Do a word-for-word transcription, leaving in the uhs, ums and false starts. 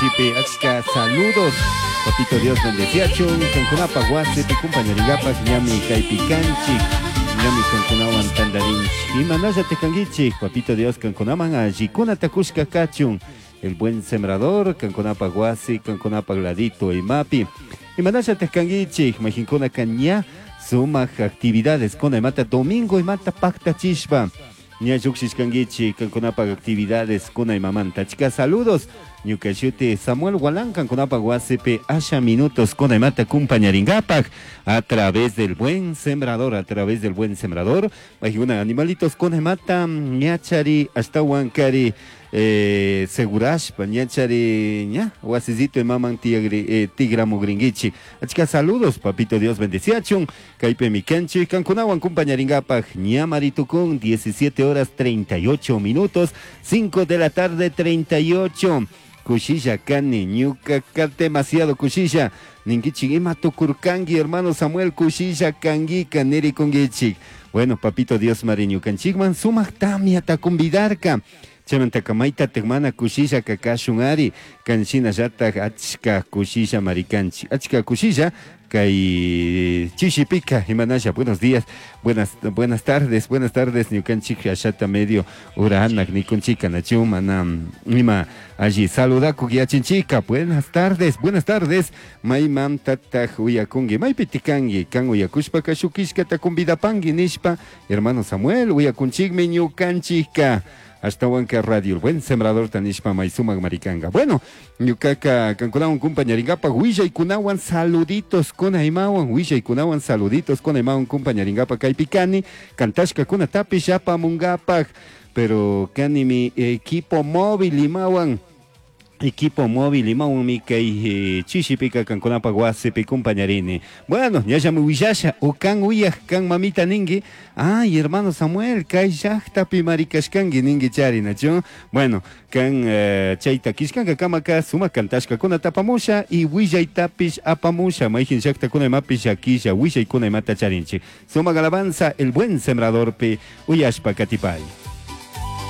Chishipi achka saludos. Papito Dios bendeciachun, kankunapaj wasipi kumpañarinkapak ñami kaypi kanchik, ñami kankunawan tantarinchik. Imanallataq kankichik, Papito Dios kankunaman allikunata kushka kachun. El buen sembrador, kankunapaj wasi, kankunapaj ladito imapi. Imanallataq kankichik, mayqinkunaka ña sumaq actividades kuna imata domingo imata pactachishpa. Ña lluqshishkankichik kankunapaj actividades kuna imamanta. Achka saludos. Ñuka shuti Samuel Gualán kankunapaj wasipi asha minutos kuna imata kumpañarinkapak a través del buen sembrador, a través del buen sembrador. Mayqina animalitos kuna imata ñachari ashtawan kari eh, segurashpa ñachari ña wasisito imaman tigri, eh, tigramugrinkichik. Achka saludos, papito Dios bendeciachun. Kaypimi kanchik kankunawan kumpañarinkapak ña maritukun diecisiete horas treinta y ocho minutos, cinco de la tarde treinta y ocho. Kushilla kani, ñuka ka demasiado kushilla. Ninkichik ima tukurkanki, hermano Samuel, kushilla kankika nirikunkichik. Bueno, papito Dios mari ñukanchikman sumaq tamyata convidarka. Chaymantaka maytataq mana kushilla kakashun ari, kanshinallataq achka kushilla marikanchik. Achka kushilla kay chishipika, imanalla, buenos días, buenas, buenas tardes, buenas tardes, ñukanchik ashata medio uranak nikunchika, nachu mana ima allí saludaku yachinchika, buenas tardes, buenas tardes, maymantataq uyakunki, maypi tikanki, kan uyakushpaka shukishkata convidapanki nishpa, hermano Samuel, uyakunchikmi ñukanchika. Ashtawanka Radio El Buen Sembrador tanishpa maysumaq marikanga. Bueno, ñukaka kankunawan kumpañarinkapak willaykunawan saluditos kuna imawan, willaykunawan saluditos kuna imawan kumpañarinkapak kaypi kani, kantashkakunatapish apamunkapak, pero kani mi equipo móvil imawan, equipo móvil imawanmi kay, eh, chishipika kankunapak wasipi kumpañarini. Bueno, ñallami willasha, o kan uyaj, kan mamita ninki, ay, hermano Samuel, kay llaqtapi marikashkanki ninki chari, nachu? Bueno, kan, eh, chayta kishkanka kamaka sumaq kantashkakuna tapamusha y willaytapish apamusha, mayqin llaqtakuna imapish llakisha, willaykuna imata charinchik. Sumaq alabanza, el buen sembradorpi uyashpa katipay.